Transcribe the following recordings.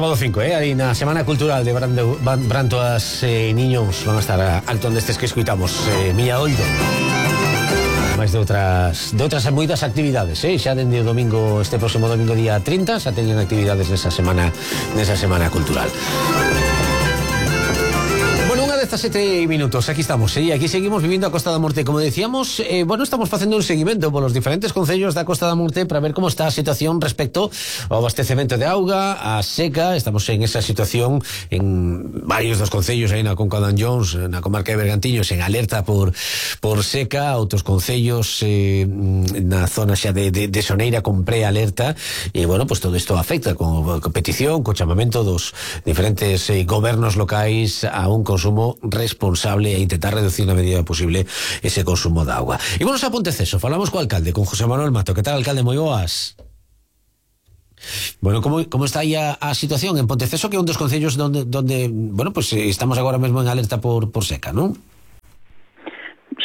sábado 5, aí na Semana Cultural de Brantoas Niños van a estar actuando estes que escuitamos, Miña Oiro. Máis de outras moitas actividades, xa dende o domingo, este próximo domingo día 30, xa teñen actividades nesa semana cultural. Bueno, 17 minutos, aquí estamos, aquí seguimos vivindo a Costa da Morte, como decíamos. Bueno, estamos facendo un seguimento polos diferentes concellos da Costa da Morte para ver como está a situación respecto ao abastecemento de auga, a seca. Estamos en esa situación en varios dos concellos, aí na Conca de Anllóns, na comarca de Bergantiños, en alerta por seca. Outros concellos na zona xa de Soneira con prealerta, e bueno, pues todo isto afecta con competición, co chamamento dos diferentes gobernos locais a un consumo responsable e intentar reducir na medida posible ese consumo de agua. E vamos a Ponteceso, falamos co alcalde, con José Manuel Mato. Que tal, alcalde? Moi boas. Bueno, como está aí a situación en Ponteceso, que é un dos concellos donde bueno, pues estamos agora mesmo en alerta por seca, non?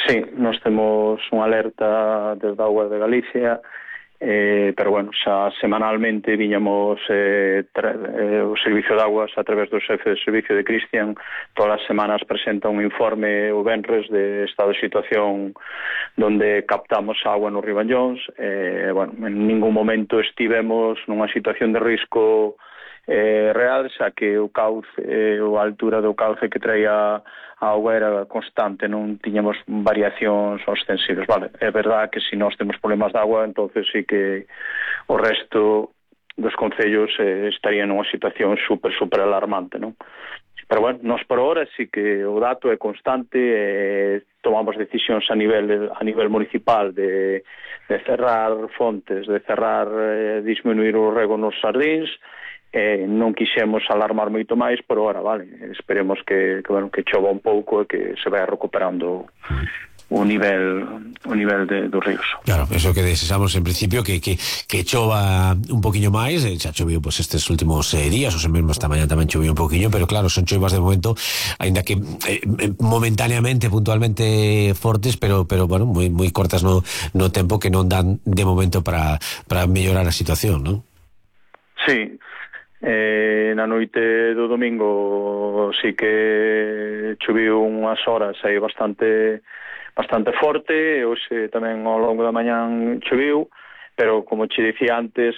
Sí, nós temos unha alerta desde Augas de Galicia, pero bueno, xa semanalmente viñamos o Servicio de Aguas a través do xefe de servicio de Cristian. Todas as semanas presenta un informe o venres de estado de situación donde captamos agua no Río Anllóns. Bueno, en ningún momento estivemos nunha situación de risco real, xa que o cauce, a altura do cauce que traía a auga era constante, non tiñamos variacións ostensibles. Vale, é verdad que se nós temos problemas de agua, entonces sí que o resto dos concellos estarían nunha situación super alarmante, non? Pero bueno, nós por ahora sí que o dato é constante, tomamos decisións a nivel municipal de cerrar fontes, de cerrar, disminuir o rego nos sardíns. Non quixemos alarmar moito máis por ahora, vale? Esperemos que chova un pouco e que se vai recuperando o nivel dos ríos. Claro, eso que desexamos en principio, que chova un poquinho máis. Xa choviu pues estes últimos días, o sea, mesmo esta mañá tamén choviu un poquinho, pero claro, son chovas de momento, aínda que momentáneamente, puntualmente fortes, pero bueno, moi cortas no tempo, que non dan de momento para mellorar a situación, non? Sí. Na noite do domingo sí que choviu unhas horas aí bastante forte, e hoxe tamén ao longo da mañán choviu, pero como che dicía antes,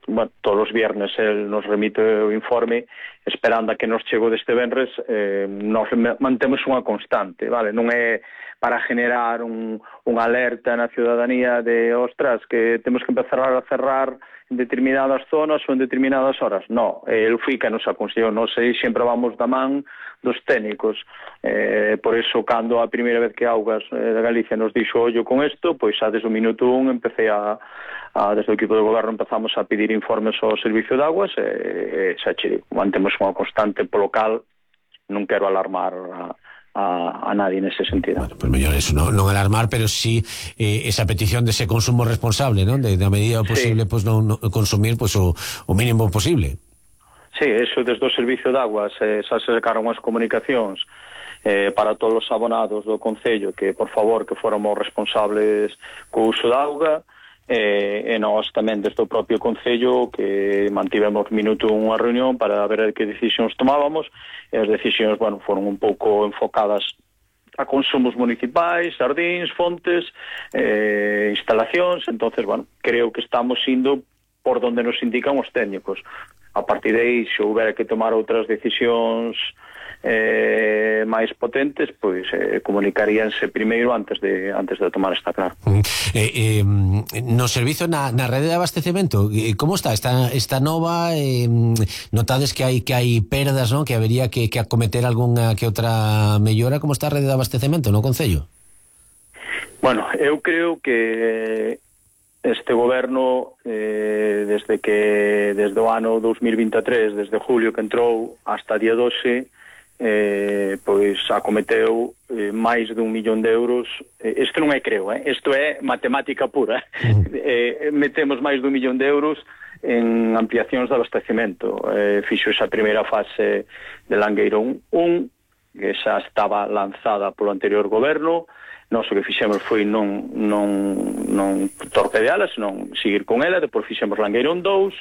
bueno, todos os viernes el nos remite o informe, esperando a que nos chego deste venres. Nos mantemos unha constante, vale? Non é para generar un alerta na ciudadanía de, ostras, que temos que empezar a cerrar en determinadas zonas ou en determinadas horas. No, el fica nos aconsellou, non sei, sempre vamos da man dos técnicos. Por iso, cando a primeira vez que Augas de Galicia nos dixo ollo con isto, pois xa desde o minuto 1 empecé desde o equipo de goberno empezamos a pedir informes ao Servicio de Aguas, e xa che mantemos unha constante polo cal non quero alarmar a nadie nese sentido. Bueno, pues mellor eso, non alarmar, pero sí esa petición de ese consumo responsable, non? De a medida posible, sí, pues non consumir pues o mínimo posible. Sí, eso desde o Servicio de Aguas xa se sacaron as comunicacións para todos os abonados do concello que, por favor, que fóramos responsables co uso da auga, e nós tamén desde o propio concello que mantivemos minuto unha reunión para ver que decisións tomábamos, e as decisións, bueno, foron un pouco enfocadas a consumos municipais, sardíns, fontes, instalacións. Entonces, bueno, creo que estamos indo por donde nos indican os técnicos. A partir de aí, se houbera que tomar outras decisións máis potentes, pois comunicaríanse primeiro antes de tomar esta, claro. No servizo, na rede de abastecemento, como está esta nova? Notades que hai perdas, non? Que habería que acometer algunha que outra mellora? Como está a rede de abastecemento no concello? Bueno, eu creo que este goberno, desde o ano 2023, desde julio que entrou hasta día 12, pois acometeu máis de 1 millón de euros. Isto non é creo, isto é matemática pura. Metemos máis de 1 millón de euros en ampliacións de abastecemento. Fixo esa primeira fase de Langueirón 1, que xa estaba lanzada polo anterior goberno. Nós o que fixemos foi non torpedeala, senón seguir con ela. Depois fixemos Langueirón 2,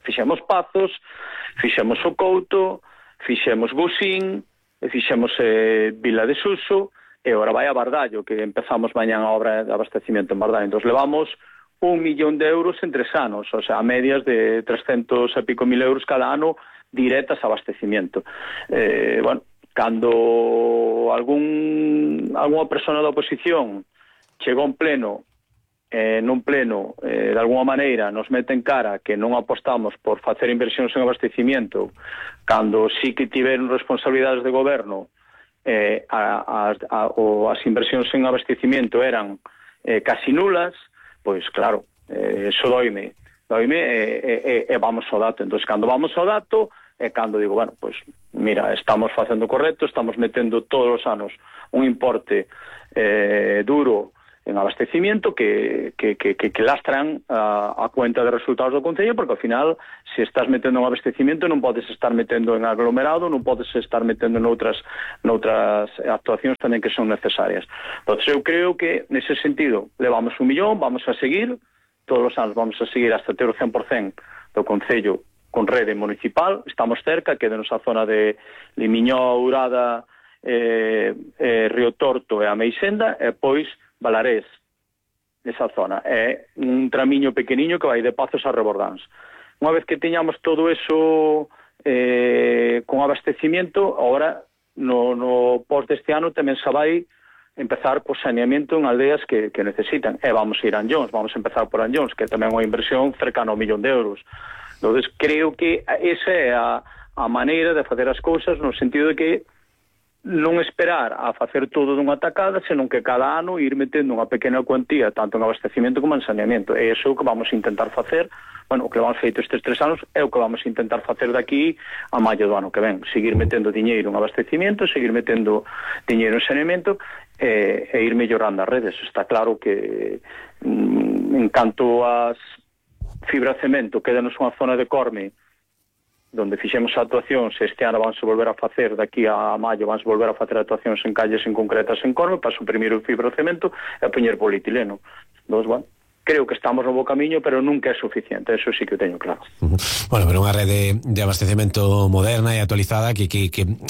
fixemos Pazos, fixemos o Couto, fixemos Bosín, fixemos Vila de Suso, e agora vai a Bardallo, que empezamos mañán a obra de abastecimiento en Bardallo. Entón levamos 1 millón de euros en 3 anos, o sea, a medias de 300 e pico mil euros cada ano directas a abastecimiento. Bueno, cando algunha persona da oposición chegou en pleno, nun pleno, de alguma maneira nos mete en cara que non apostamos por facer inversións en abastecimiento, cando sí que tiveron responsabilidades de goberno, as inversións en abastecimiento eran casi nulas, pois claro, eso doime e vamos ao dato. Entón, cando vamos ao dato é cando digo, bueno, pois mira, estamos facendo correcto, estamos metendo todos os anos un importe duro en abastecimiento que lastran a cuenta de resultados do Concello, porque ao final, se estás metendo en abastecimiento, non podes estar metendo en aglomerado, non podes estar metendo noutras actuacións tamén que son necesarias. Entón, eu creo que, nese sentido, levamos 1 millón, vamos a seguir, todos os anos vamos a seguir hasta ter o 100% do Concello con rede municipal, estamos cerca, quédenos a zona de Limiñó, Ourada, Río Torto e a Meixenda, e pois Valarés, esa zona. É un tramiño pequeniño que vai de Pazos a Rebordáns. Unha vez que teñamos todo eso con abastecimiento, agora no post deste ano tamén se vai empezar por saneamiento en aldeas que necesitan. E vamos a ir a Anllóns, vamos a empezar por Anllóns, que tamén é unha inversión cercana ao 1 millón de euros. Entón, creo que esa é a maneira de facer as cousas, no sentido de que non esperar a facer todo dunha tacada, senón que cada ano ir metendo unha pequena cuantía, tanto en abastecimiento como en saneamiento. E iso é o que vamos a intentar facer, bueno, o que vamos feito estes 3 anos, é o que vamos a intentar facer daqui a maio do ano que ven. Seguir metendo diñeiro en abastecimiento, seguir metendo diñeiro en saneamiento, e ir mellorando as redes. Está claro que en canto as fibra cemento, quédanos unha zona de Corme, donde fixemos actuacións, este ano vamos a volver a facer, daqui a maio vamos a volver a facer actuacións en calles en concretas en Corme, para suprimir o fibrocemento e poñer polietileno. Entón, bueno, creo que estamos no bo camiño, pero nunca é suficiente, eso sí que o teño claro. Bueno, pero unha rede de abastecemento moderna e actualizada que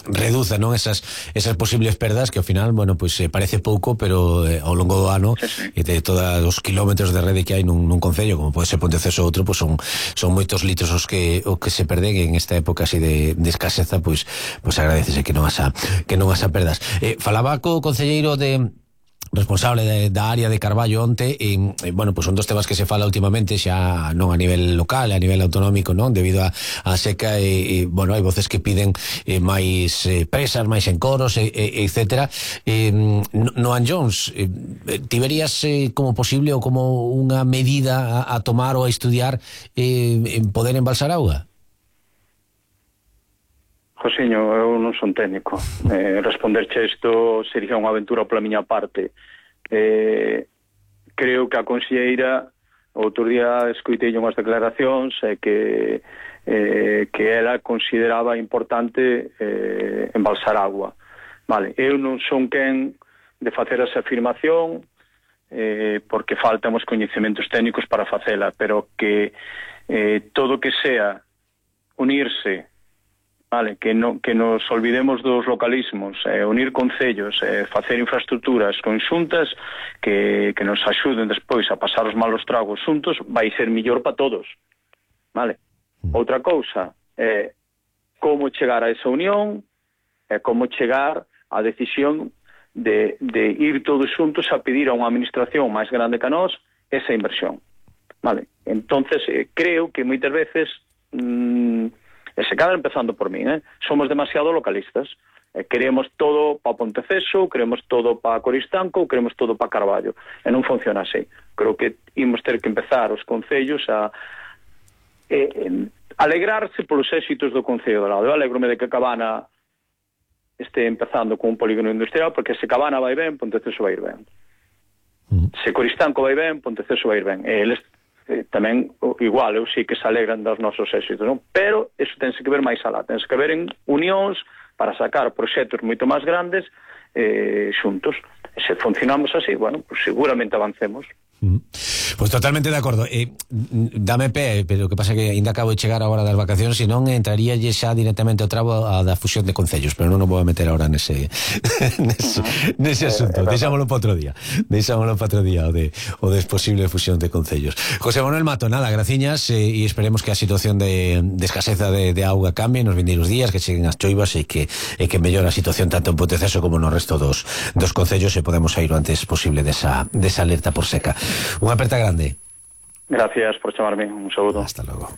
reduza, non, esas posibles perdas que ao final, bueno, pues parece pouco, pero ao longo do ano, e de todos os kilómetros de rede que hai nun concello, como pode ser Ponteceso ou outro, pues son moitos litros os que se perden en esta época así de escaseza, pues agradecese que non haxa perdas. Falaba co concelleiro responsable da área de Carballo onte, e bueno, pues son dos temas que se fala últimamente, xa non a nivel local, a nivel autonómico, non, debido a seca, e bueno, hai voces que piden máis presas, máis encoros, etcétera. No Anllóns, ti verías como posible ou como unha medida a tomar ou a estudiar en poder embalsar auga? Josiño, eu non son técnico. Responderche isto sería unha aventura pola miña parte. Creo que a conselleira, outro día escoitei unhas declaracións que ela consideraba importante embalsar agua. Vale, eu non son quen de facer esa afirmación porque faltan os coñecementos técnicos para facela, pero que todo que sea unirse, vale, que nos olvidemos dos localismos, unir concellos, facer infraestructuras conxuntas que nos axuden despois a pasar os malos tragos xuntos, vai ser millor para todos, vale? Outra cousa é como chegar a esa unión, é como chegar á decisión de ir todos xuntos a pedir a unha administración máis grande que a nós esa inversión, vale? Entonces, creo que moitas veces e se cada empezando por min, somos demasiado localistas, queremos todo para Ponteceso, queremos todo para Coristanco, queremos todo para Carballo, e non funciona así. Creo que imos ter que empezar os concellos a alegrarse polos éxitos do concello do lado. Eu alegrome de que Cabana este empezando con un polígono industrial, porque se Cabana vai ben, Ponteceso vai ir ben. Se Coristanco vai ben, Ponteceso vai ir ben. E eles tamén, igual, eu sei que se alegran dos nosos éxitos, non? Pero eso tense que ver máis alá, tense que ver en unións para sacar proxectos moito máis grandes xuntos. E se funcionamos así, bueno, pues seguramente avancemos. Pois totalmente de acordo. Dame pé, pero o que pasa é que ainda acabo de chegar a hora das vacacións, senón entraríalle xa directamente ao trabo a da fusión de concellos, pero non nos vou a meter ahora nese asunto. Deixámoslo para outro día. O de posible fusión de concellos. José Manuel Mato, nada, graciñas, e esperemos que a situación de escaseza de auga cambie nos vindeiros días, que cheguen as choivas e que mellore a situación tanto en Ponteceso como no resto dos concellos, e podemos sair o antes posible desa alerta por seca. Unha aperta grande. Gracias por chamarme, un saúdo. Hasta logo.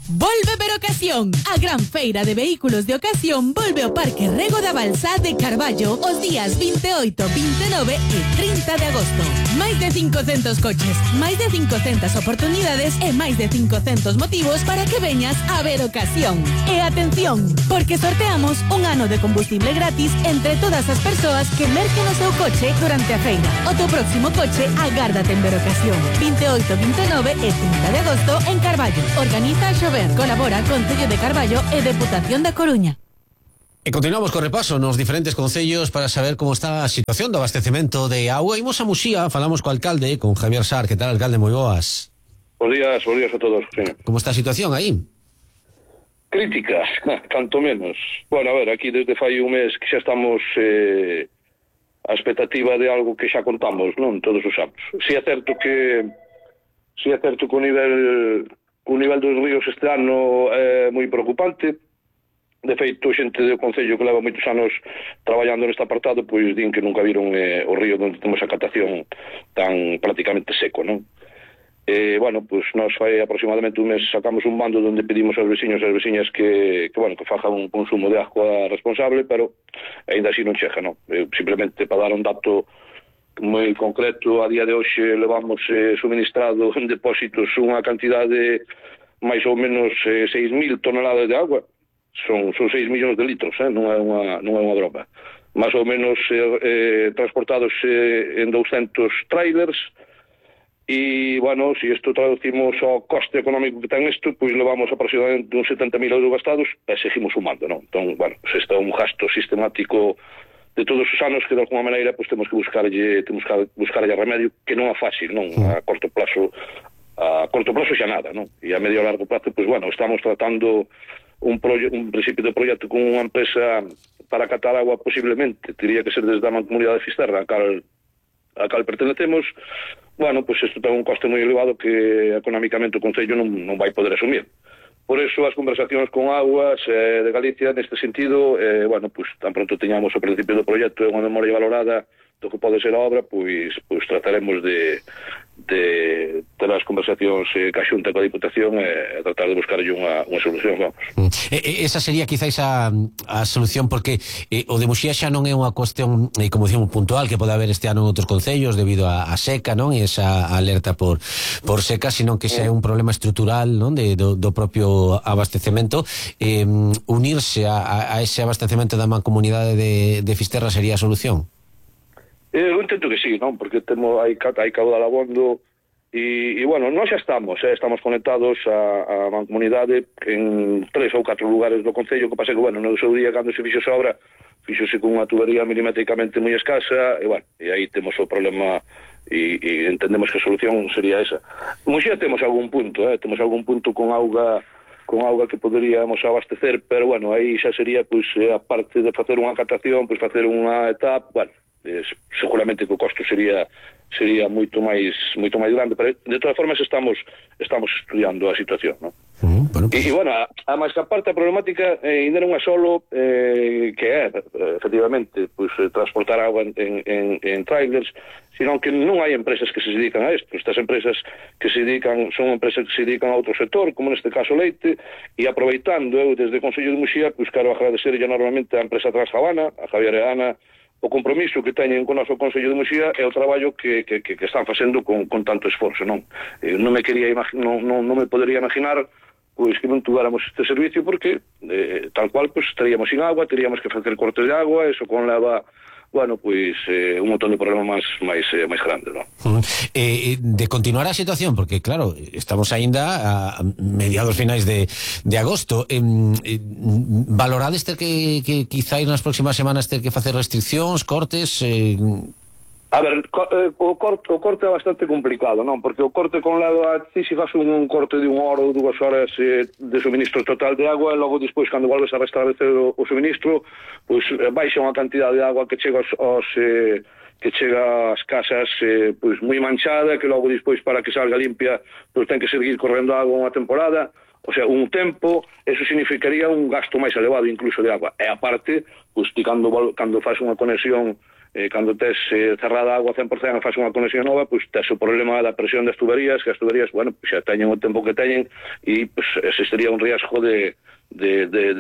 Volve ver ocasión. A gran feira de vehículos de ocasión volve ao Parque Rego da Balsa de Carballo os días 28, 29 e 30 de agosto. Máis de 500 coches, máis de 500 oportunidades e máis de 500 motivos para que veñas a ver ocasión. E atención, porque sorteamos un ano de combustible gratis entre todas as persoas que merquen o seu coche durante a feira. O teu próximo coche agárdate en ver ocasión. 28, 29 e 30 de agosto en Carballo. Organiza a colabora Concello de Carballo e Deputación da Coruña. E continuamos co repaso nos diferentes concellos para saber como está a situación do abastecemento de auga. Imos a Muxía, falamos co alcalde, con Javier Sar. Que tal, alcalde? Moi boas. Bos días a todos. Sí. Como está a situación aí? Crítica, tanto menos. Bueno, a ver, aquí desde fai un mes que xa estamos a expectativa de algo que xa contamos, non? Todos os anos. Si é certo que o nivel dos ríos este ano é moi preocupante. De feito, xente do Concello que leva moitos anos traballando neste apartado, pois din que nunca viron o río onde temos a catación tan prácticamente seco, non? Bueno, pois nós fai aproximadamente un mes sacamos un bando onde pedimos aos veciños e as veciñas que fajan un consumo de agua responsable, pero ainda así non chega, non? Simplemente para dar un dato moi concreto, a día de hoxe levamos suministrado en depósitos unha cantidade máis ou menos 6.000 toneladas de agua. Son 6 millóns de litros, non é unha broma. Máis ou menos transportados en 200 trailers. E, bueno, se isto traducimos ao coste económico que ten isto, pois levamos aproximadamente uns 70.000 euros gastados e seguimos sumando, non? Entón, bueno, se está un gasto sistemático de todos os anos que de alguma maneira pois temos que buscarlle remedio, que non é fácil, non? A corto plazo xa nada, non? E a medio e largo plazo, pois bueno, estamos tratando un principio de proxecto con unha empresa para catar agua, posiblemente teria que ser desde a Mancomunidade de Fisterra a cal pertenecemos. Bueno, pois isto ten un coste moi elevado que económicamente o Concello non vai poder asumir. Por eso as conversacións con Augas de Galicia neste sentido, bueno, pois tan pronto teñamos o principio do proxecto e unha memoria valorada do que pode ser a obra, pois trataremos de ter as conversacións ca Xunta coa Diputación e tratar de buscarlle unha solución, vamos. Esa sería quizáis a solución, porque o de Muxía xa non é unha cuestión, como dicimos, puntual que pode haber este ano en outros concellos debido a seca, non? E esa alerta por seca, sino que xa é un problema estrutural, non? Do propio abastecemento. Unirse a ese abastecemento da Mancomunidade de Fisterra sería a solución? Eu intento que sí, non? Porque hai caudal abondo e bueno, nós xa estamos conectados a Mancomunidade en 3 ou 4 lugares do Concello, que pasa que, bueno, no seu día, cando se fixo esa obra, fixose con unha tubería milimétricamente moi escasa, e, bueno, e aí temos o problema e entendemos que a solución sería esa. Muxía temos algún punto con auga que poderíamos abastecer, pero, bueno, aí xa sería, pois, a parte de facer unha catación, pois, facer unha etapa, bueno, seguramente que o costo sería moito máis grande, pero de todas formas estamos estudiando a situación, non? Bueno, pues... E, bueno, a máis que a parte a problemática ainda non é solo que é, efectivamente, pues, transportar agua en trailers, sino que non hai empresas que se dedican a isto. Estas empresas que se dedican son empresas que se dedican a outro sector, como neste caso leite, e aproveitando eu desde o Concello de Muxía, pues quero agradecerlle normalmente a empresa Transhabana, a Javier e Ana, o compromiso que teñen con o noso Concello de Muxía e o traballo que están facendo con tanto esforzo, non? Non me podería imaginar pois que non tuvéramos este servicio, porque tal cual pois estaríamos sin agua, teríamos que facer cortes de agua, eso conleva, bueno, pois un montón de problemas máis grandes, non? De continuar a situación, porque claro, estamos aínda a mediados finais de agosto, valorades ter que quizáis nas próximas semanas ter que facer restriccións, cortes? A ver, o corte é bastante complicado, non? Porque o corte con lado a ti, se faz un corte de 1 hora ou 2 horas de suministro total de agua, e logo despois, cando volves a restablecer o suministro, pois baixa unha cantidad de agua que chega que chega ás casas pois moi manchada, que logo despois, para que salga limpia, pois ten que seguir correndo agua unha temporada. O sea, un tempo, eso significaría un gasto máis elevado incluso de agua. E aparte, pois ti cando faz unha conexión, cando tes cerrada a agua 100% e faz unha conexión nova, pois tes o problema da presión das tuberías, que as tuberías, bueno, pois xa teñen o tempo que teñen, e pois existiría un riesgo de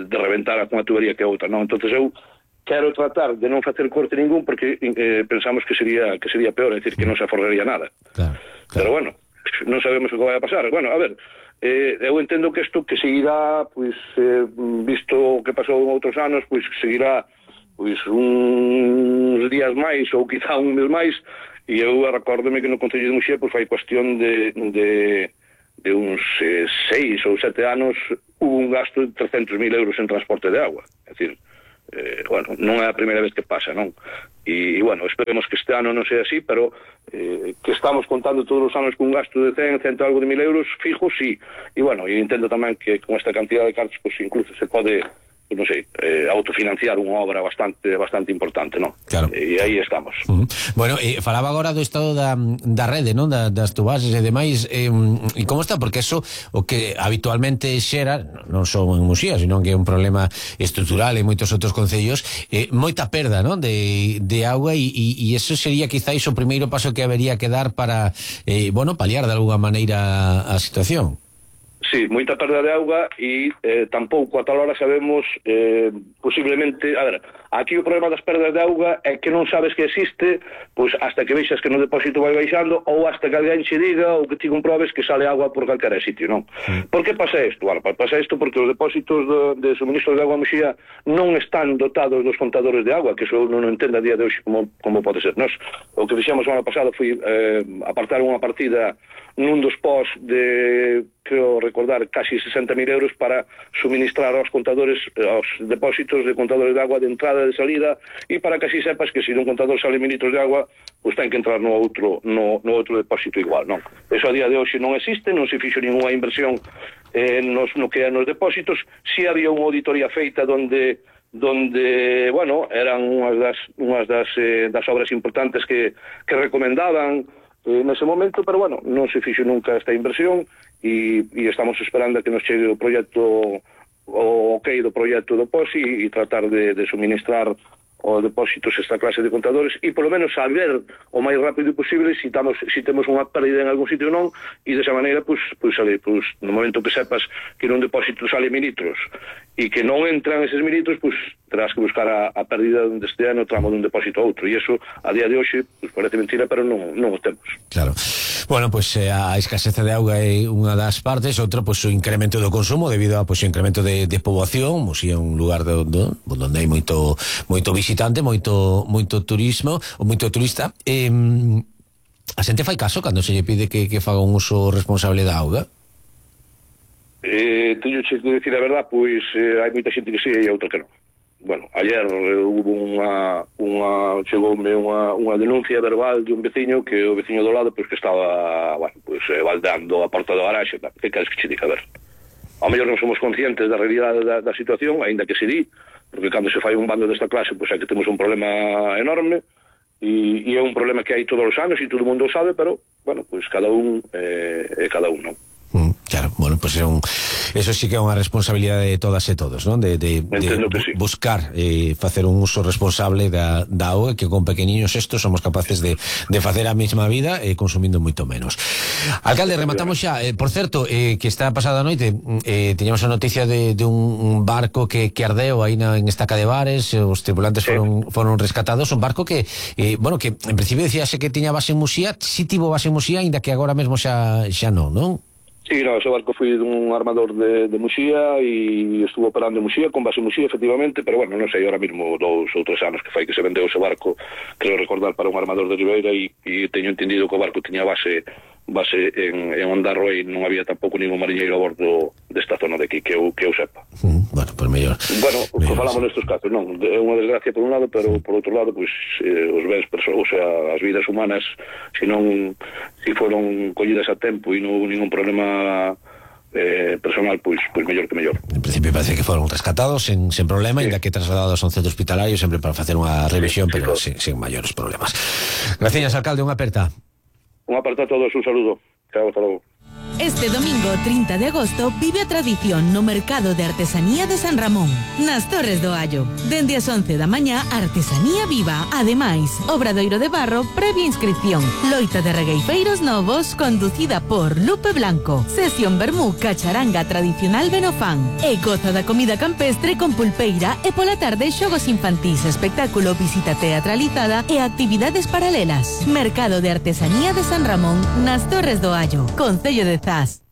reventar unha tubería que outra, non? Entonces eu quero tratar de non facer corte ningún, porque pensamos que sería peor, é dicir, que non se aforraría nada. Claro. Pero bueno, non sabemos o que vai a pasar. Bueno, a ver, eu entendo que isto que seguirá, pois, visto o que pasou en outros anos, pois seguirá pois uns días máis ou quizá un mes máis, e eu recórdome que no Concello de Muxía pois fai cuestión de uns 6 ou 7 anos hubo un gasto de 300.000 euros en transporte de agua. É dicir, bueno, non é a primeira vez que pasa, non? E bueno, esperemos que este ano non sea así, pero que estamos contando todos os anos con un gasto de 100 algo de 1.000 euros fijo, sí. E bueno, eu entendo tamén que con esta cantidad de cartos pois incluso se pode, non sei, autofinanciar unha obra bastante importante, non? Claro. E aí estamos. Bueno, falaba agora do estado da rede, non? Das tubases e demais, e como está? Porque eso o que habitualmente xera, non só en Muxía, sino que é un problema estrutural en moitos outros concellos, moita perda, non? De agua, e eso sería quizáis o primeiro paso que habería que dar para, bueno, paliar de alguna maneira a situación. Sí, moita perda de auga, e tampouco a tal hora sabemos posiblemente, a ver, aquí o problema das perdas de auga é que non sabes que existe, pois hasta que vexas que no depósito vai baixando, ou hasta que alguén che diga ou que ti comprobes que sale agua por calquera sitio, non? Por que pasa isto? Bueno, pasa isto porque os depósitos de suministro de agua a Muxía non están dotados dos contadores de agua, que eso non entendo a día de hoxe como pode ser. Nos, o que fixemos o ano pasado foi apartar unha partida nun dos pós de, creo recordar, casi 60.000 euros para suministrar aos contadores, aos depósitos de contadores de agua de entrada e de salida, e para que así sepas que se un contador sale 1.000 litros de agua, pois ten que entrar no outro depósito igual, non? Eso a día de hoxe non existe, non se fixo ninguna inversión no que é nos depósitos. Si había unha auditoría feita donde bueno, eran unhas das obras importantes que recomendaban nese momento, pero bueno, non se fixo nunca esta inversión, e estamos esperando a que nos chegue o proxecto, o ok do proxecto do POSI, e tratar de suministrar os depósitos esta clase de contadores, e polo menos saber o máis rápido posible se temos unha pérdida en algún sitio ou non, e desa maneira, pois no momento que sepas que nun depósito sale 1.000 litros e que non entran eses 1.000 litros, pois terás que buscar a pérdida onde estea no tramo dun depósito a outro, e iso a día de hoxe pois parece mentira, pero non o temos. Claro. Bueno, pois a escaseza de auga é unha das partes, outra pois o incremento do consumo debido ao incremento de poboación. Muxía é un lugar onde hai moito visitante, moito turismo, ou moito turista. A xente fai caso cando se lle pide que faga un uso responsable da auga? Teño que decir a verdad, pois hai moita xente que sí e outra que non. Bueno, ayer hubo chegoume unha denuncia verbal de un veciño, que o veciño do lado pois que estaba, bueno, pois baldeando a porta do garaxe. Que queres que che diga? A ver, ao mellor non somos conscientes da realidade da situación, aínda que se di, porque cando se fai un bando desta clase pois é que temos un problema enorme, e é un problema que hai todos os anos e todo o mundo sabe, pero bueno, pois cada un é cada un, non? Claro, bueno, pues eso sí que é unha responsabilidade de todas e todos, non? De sí, buscar facer un uso responsable da auga, que con pequeniños estos somos capaces de facer a mesma vida consumindo moito menos. Alcalde, rematamos xa. Por certo, que está pasada a noite, teñamos a noticia de un barco que ardeu aí en Estaca de Bares, os tripulantes foron rescatados, un barco que, bueno, que en principio decíase que tiña base en Muxía, si tivo base en Muxía, ainda que agora mesmo xa non? Sí, no, ese barco foi dun armador de Muxía e estuvo operando en Muxía, con base en Muxía, efectivamente, pero bueno, non sei, ahora mesmo 2 ou 3 anos que fai que se vendeu ese barco, creo recordar, para un armador de Ribeira, e teño entendido que o barco tiña base base en Ondarroa, non había tampouco ningún mariñeiro a bordo desta zona de aquí que eu sepa. Bueno, pues mellor. Bueno, o que falamos nestes casos, non, é unha desgracia por un lado, pero por outro lado, pois os bens persoas, o sea, as vidas humanas, se foron collidas a tempo e non houve ningún problema personal, pois mellor que mellor. En principio parece que foron rescatados sen problema, sí, ainda que trasladados a un centro hospitalario sempre para facer unha revisión, sí, pero claro, sin maiores problemas. Gracias, alcalde, unha aperta. Unha aperta a todos, un saludo. Chao, hasta logo. Este domingo 30 de agosto vive a tradición no Mercado de Artesanía de San Ramón, nas Torres do Allo. Dende as 11 da mañá, artesanía viva. Ademais, obradoiro de barro previa inscripción. Loita de regueifeiros novos conducida por Lupe Blanco. Sesión vermú cacharanga tradicional Benofán. E goza da comida campestre con pulpeira e pola tarde xogos infantís, espectáculo, visita teatralizada e actividades paralelas. Mercado de Artesanía de San Ramón, nas Torres do Allo, Concello de Zas.